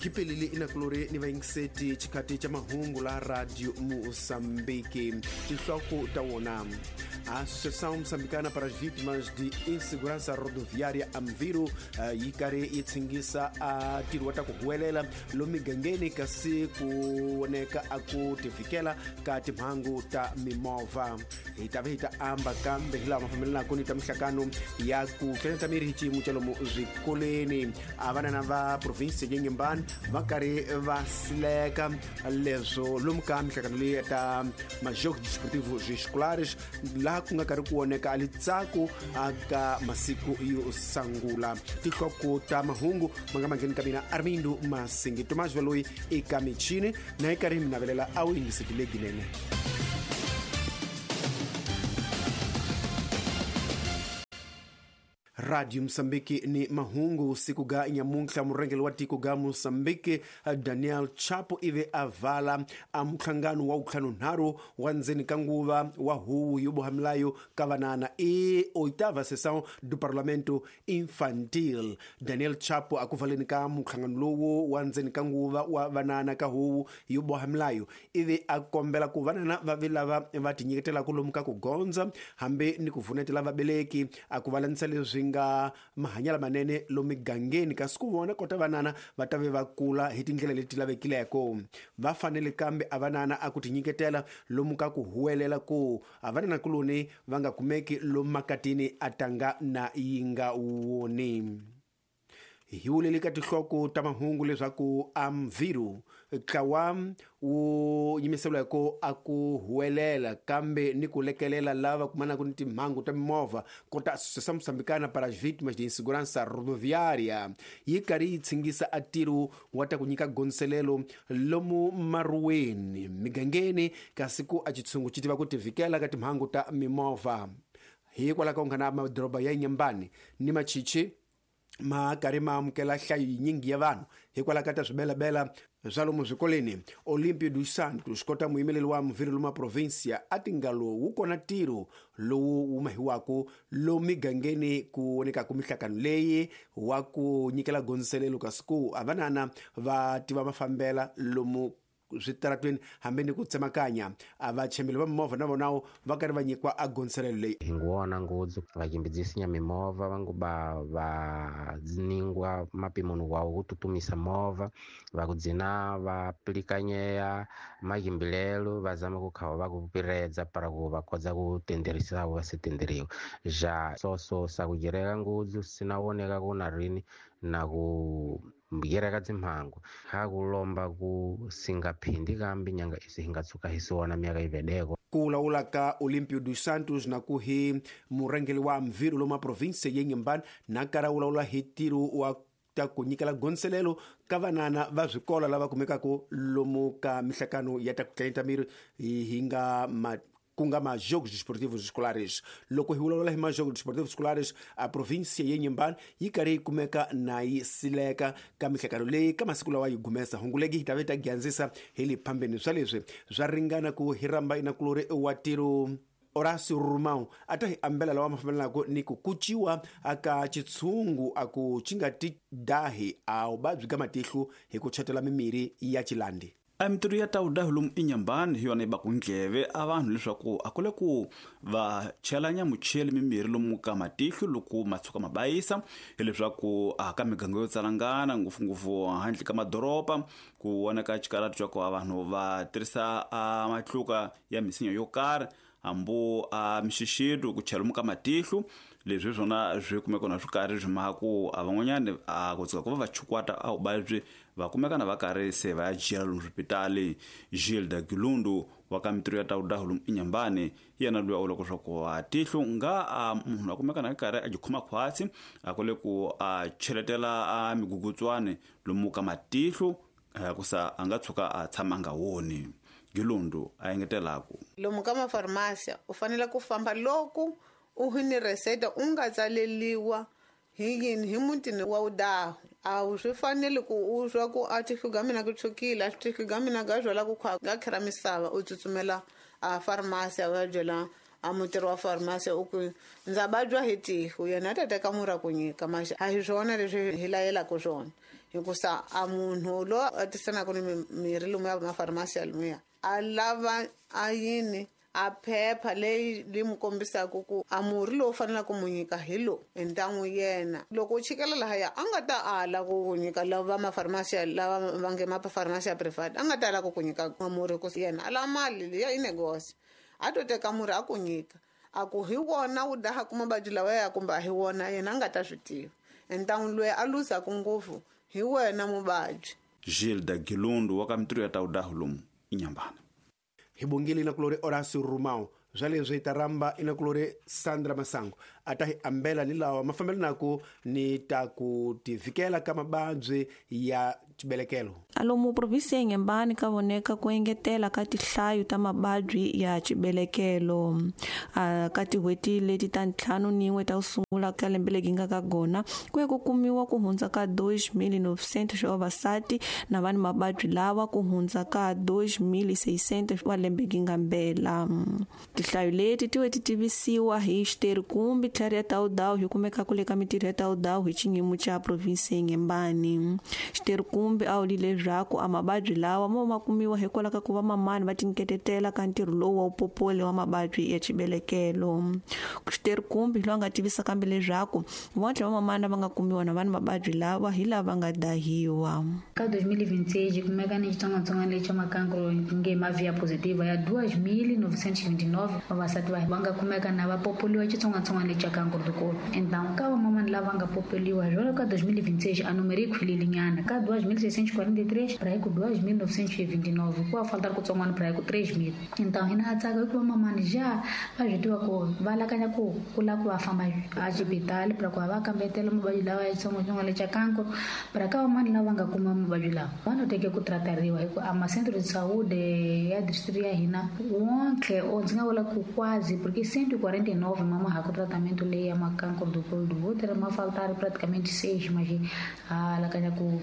Khipelile inakulori ni vayingiseti xikati xa mahungu la Radio Moçambique. Tinhloko ta wona: a Associação Moçambicana para as Vítimas de Insegurança Rodoviária Amviro yi karhi yi tshingisa a ntirho wa ta ku huwelela lomu migangeni kasi ku voneka a ku tivikela ka timhangu ta mimovha. Hi ta ve hi ta amba kambe hi laha ma fambelanaka ni ta mihlakano ya ku hlengeleta miri hi xiyimo xa lomu swikolweni. A vanana va provinsi ya Inhambane va karhi va sileka leswo lomu ka mihlakano leyi ta majogos desportivos escolares, laha ku nga karhi ku voneka a litsako aka masiku yo sangula. Tinhloko ta mahungu ma nga mangheni ka mina Armindo Masingi Tomás Valoyi eka michini na yi karhi mi navelela a wu yingisekile ginene. Radio Mosambiki ni mahungu siku ga nyamuntlha. Murhangeri wa tiko ga Mosambiki Daniel Chapo ivi a vala a muhlangano wa vuntlhanunharhu wa ndzeni ka nguva wa huvo yo boha milayo ka vanana i oitava sessão do Parlamento Infantil. Daniel Chapo a ku valeni ka muhlangano lowu wa ndzeni ka nguva wa vanana ka huvo yo boha milayo ivi a kombela ku vanana va vi lava va tinyiketelaka lomu ka ku gondza hambi ni ku vunetela vabeleki a ku valanisa leswi nga mahanyelo manene lomu migangeni, kasi ku vona kota vanana va ta ve va kula hi tindlela leti lavekileko. Va fanele kambe a vanana a ku tinyiketela lomu ka ku huwelela ku a vanana kuloni va nga kumeki lomu makatini a tanga na yi nga woni. Hi vuleli ka tinhloko ta mahungu leswaku Amviro ntlawa wu yimiseriwa hi ku a ku huwelela kambe ni ku lekelela lava kumanaka ni timhangu ta mimovha kota Associação Moçambicana para as Vítimas de Insegurança Rodoviária yi karhi yi tshingisa a ntirho wa ta ku nyika gondzelelo lomu maruweni migangeni, kasi ku a xitshungu xi tiva ku tivikela ka timhangu ta mimovha. Hikwalaho ka ku nghana madoroba ya Inhambane ni Machichi ma karhi ma amukela nhlayo yinyingi ya vanhu hikwalaho ka ta swibelabela swa lomu swikolweni. Olimpio dos Santos kota muyimeleri wa muvhiri lomu provinsia a tinga lowu wu kona ntirho lowu wu mahiwaka lomu migangeni ku vonekaka mihlakano leyi wa ku nyikela gondzelelo, kasi ku a vanana va tiva mafambela lomu switaratweni hambi ni ku tsemakanya. A vachembeli va mimovha na vonawo va karhi va nyikiwa a gondzelelo leyi. Hi nguwona ngudzu vachimbidzi mimovha vanguba va ningwa mapimoni wawo ku tutumisa movha, va kudzina va pilikanyea maghimbilelo va zama ku khawa va ku piredza para ku va kodza ku tenderisa va se tenderiwa. Ja soso sa ku gereka ngudzu sina woneka ku na rini na ku gereka dzimhangu ha kulomba ku singaphindi kambi nyanga isi hi nga tshuka hi siwona myaka ivedeko. Ku lawula ka Olimpio dos Santos na ku hi murhangeri wa Mviro lomu provinsi ya Inhambane na karhi a vulavula hi ntirho wa ta ku nyikela gondzelelo ka vanana va swikolo lava kumekaka lomu ka mihlakano ya ta ku tlanyeta miri hi nga ma ku nga majogos desportivos escolares. Loko hi vulavula hi majogos desportivos escolares, a provinsia ya Inhambane yi karhi yi kumeka na yi sileka ka mihlekano leyi ka masiku lawa yi gumesa hungu legi hi ta ve ta gyandzisa hi le phambeni swa leswi swa ringana ku hi rhamba inakulori wa ntirho Horácio Romão a ta hi ambela lawa ma fambelanaka ni ku kuciwa aka xitshungu a ku xi nga ti dahi a vuvabyi ka matihlo hi ku chetela mimirhi ya xilandi. A mintirho ya tawudahi lomu Inhambane hi yona yi baku ndleve a vanhu leswaku a kule ku va chelanya mucheli mimirhi lomu ka matihlo loko ma tshuka ma bayisa, hileswaku a ka miganga yo tsalangana ngopfungopfu handle ka madoroba ku vonaka xikarati xa ku a vanhu va tirhisa a matluka ya misinya yo karhi hambu a mixixito ku chela lomu ka matihlo. Leswi hi swona swi kumeka na swi karhi swi maha ku a van'wanyani a ku tshuka ku va va chukwata a vuvabyi va kumeka na va karhi se va ya jela lomu swipitali. Gilda Gilundu wa ka mintirho ya tawudahu lomu Inhambane yena loyi a vulaka leswaku a tihlo nga a munhu a kumeka na karhi a jikhoma khwatsi a kule ku a cheletela a migugutswani lomu ka matihlo ku sa a nga tshuka a tshama a nga woni. Gilundu a engetelaku lomu ka mafarmasiya u fanele ku famba loko u hi ni reseta u nga tsaleliwa hi yini hi mutini wa udahu. A wu swi fanele ku u swa ku a tihlo ga mina ku tshukile a tihlo ga mina ga zwela ku khwa ga khera misava u tsutsumela a farmasi a va byela A mutirhi wa farmasi u ku ndza vabya hi tihlo, yena a ta teka murhi a ku nyika, maxa a hi swona leswi hi layelaka swona, hikusa a munhu loyi a tisanaka ni mirhi lomuya mafarmasi ya lomuya a lava a yini a phepha leyi li mu kombisaka ku a murhi lowu faneleke ku mu nyika hi lowu entan'wu yena. Loko u chikela lahaya a nga ta ala ku ku nyika lava mafarmasi lava va nge mafarmasi ya private, a nga ta ala ku ku nyika murhi ku yena a lava mali liya i negosi, a to teka murhi a ku nyika a ku hi wona wu daha ku mavabyi lawa ya kumbe a hi wona, yena a nga ta swi tiva. Entan'wu loyi a luzaka ngopfu hi wena muvabyi. Gilda Gilundu wa ka mitirho ya tawudahu lomu Inhambane. Hi bongile inakulori Horacio Rumao swa leswi hi ta rhamba inakulori Sandra Masango a ta hi ambela ni lawa mafambelanaka ni ta ku tivikela ka mavabyi ya xibelekelo. Alomu provinsi ya Inhambane ka voneka ku engetela ka tihlayo ta mavabyi ya xibelekelo. Ka tin'hweti leti ta 51 ta ku sungula ka lembe leri nga ka gona ku ya ku kumiwa ku hundza ka 2.900 swa vavasati na vanhu mavabyi lawa ku hundza ka 2.600 wa lembe gi nga mbela. Tihlayo leti ti ti tivisiwa hi xiterikumbi tlhari ya Tawudawu hi kumeka kule ka mitirho ya Tawudawu hi xiyimo xa provinsi ya Inhambane. Xiterikumbi a wulile leswaku a mavabyi lawa mo ma kumiwa hikwalaho ka ku va mamani va tinketetela ka ntirho lowu wa upopole wa mavabyi ya xibelekelo. Xiterikumbi loyi a nga tivisa kambe leswaku vontlhe va mamani va nga kumiwa na vanhu mavabyi lawa hi lava nga dahiwa. Ka 2026 kumeka ni xitsongwatsongwana lexi xa makankro nge mavia positiva ya 2929 vavasati va nga kumeka na va popoliwa xitsongwatsongwana lexi xa kankro dikolo. Então ka vamamani lava nga popoliwa jwalo ka 2026 a numero yi khwilile nyana ka 2643 para ku 2929 ku a faltar kutsongwana para ku 3000. Então hina a tsaka hikuva mamani ja va swi tiva ku va lakanya ku ku lava ku va famba a xibitali para ku va kambetela mavabyi lawa ya xitsongwatsongwana lexa kankro. Para ka vamani lava nga kuma mavabyi lawa va no teke ku tratariwa hi ku a ma-centro de saúde ya distrito ya hina wonke o ndzi nga vula ku quase porque 149 mama ha ku tratamento leyi ya makankro do colo do útero ma faltar praticamente 6, mas a lakanya ku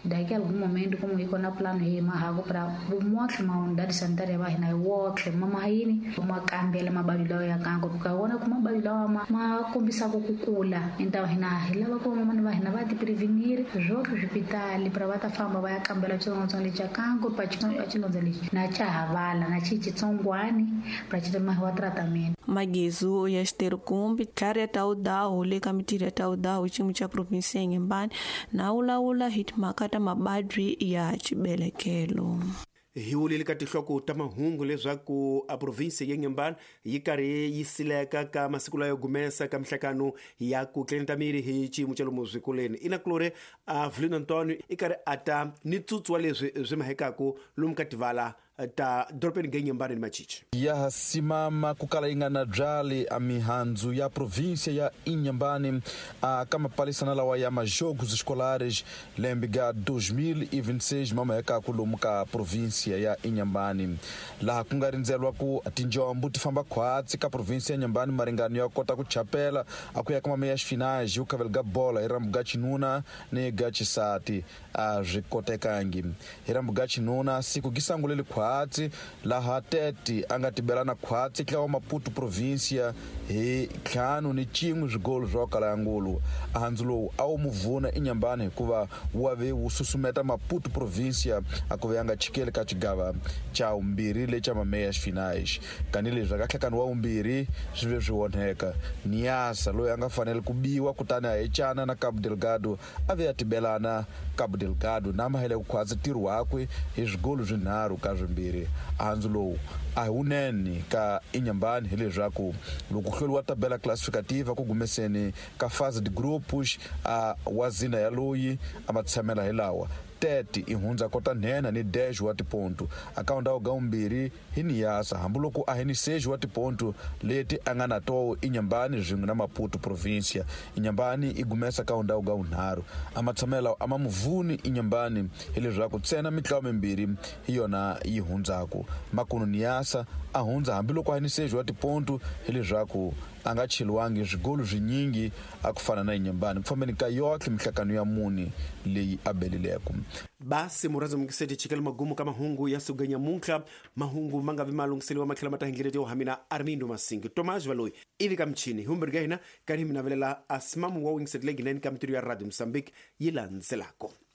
daqui a algum momento como iko na plano hi mahaku para motlhe ma unidade sanitária va hina wotlhe mama yini ma kambela mavabyi lawa ya kankro ka vona ku mavabyi lawa ma kombisaka ku kula. Então hina hi lava ku vamamani va hina va ti prevenir swotlhe swipitali para va ta famba va ya kambela xitsongwatsongwana lexi xa kankro pa xilondza lexi na xa havala na xi xitsongwani para xi mahiwa tratamento. Magezu ya xiterikumbi tlhari ya Tawudawu le ka mitirho ya Tawudawu hi xiyimo xa provinsi ya Inhambane na wulawula hi timhaka ta mavabyi ya xibelekelo. Hi wulile ka tinhloko ta mahungu leswaku a provinsi ya Inhambane yi karhi yi sileka ka masiku layo gumesa ka mihlakano ya ku tleneta miri hi xiyimo xa lomu swikolweni. Inakulori a Vulino Antonio i karhi a ta ni tsutsu wa leswi swi mahekaku lomu ka tivala ta dorobeni ga Inhambane ni Machichi. Ya simama kukala yi nga na byali a mihandzu ya província ya Inhambane a ka mapalisana lawa ya majogos escolares lembe ga 2026 mamahekaku lomu ka província ya Inhambane, laha ku nga rindzelwa ku tinjombo ti famba khwatsi ka província ya Inhambane maringano ya kota ku chapela a ku ya ka mameya xifinage ku khavela ga bola hi rambu ga xinuna ni ga xisati a swi kotekangi. Hi rambu ga xinuna siku gi sanguleli khwatsi laha Tete a nga tibelana khwatsi tlawa Maputo província hi 5-1 swigolo swa kala ya ngulu. Handzu lowu a wu muvuna Inhambane hikuva wa ve wu susumeta Maputo província a ku ve a nga chikeli ka xigava xa vumbirhi lexa mameya xifinage. Kanileswi aka nhlakano wa vumbirhi swi ve swi onheka. Niasa loyi a nga fanele ku biwa kutani a hecana na Cabo Delgado a ve a tibelana Cabo Delgado na mahele ku khwatsi ntirho wakwe hi swigolo swinharhu ka swimbirhi. Handzu lowu a hi wunene ka Inhambane hileswaku loko hluriwa tabela classificativa ku gumeseni ka fase de grupos a wa zina ya loyi a ma tshamela hi lawa Tete i hundza kota nhenha ni 10 wa tiponto akaunda ga umbirhi hi Niasa hambiloko a hi ni 6 wa tiponto leti a nga na toho Inhambane swin'we na Maputo província. Inhambane i gumesa ka undhawu ga unharhu a matshamela a ma muvuni Inhambane hileswaku ntsena mitlawa mimbirhi hi yona yi hundzaku. Makunu Niasa a hundza hambiloko a hi ni 6 wa tiponto hileswaku a nga cheliwangi swigolo swinyingi a ku fana na Inhambane ku fambeni ka yotlhe mihlakano ya mune leyi a belileko. Basi muradzo mukiseti chikela magumu ka mahungu ya suga nyamuntlha. Mahungu ma nga vi ma lunghiseliwa ma tlhela ma ta hi ndlela yo hamina Armindo Masingi Tomás Valoyi ivi ka michini hi humbirhi ka hina karhi hi mi navelela asimamu wa wingiset leyi gineni ka mitirho ya Radio Mozambique yi landzelako.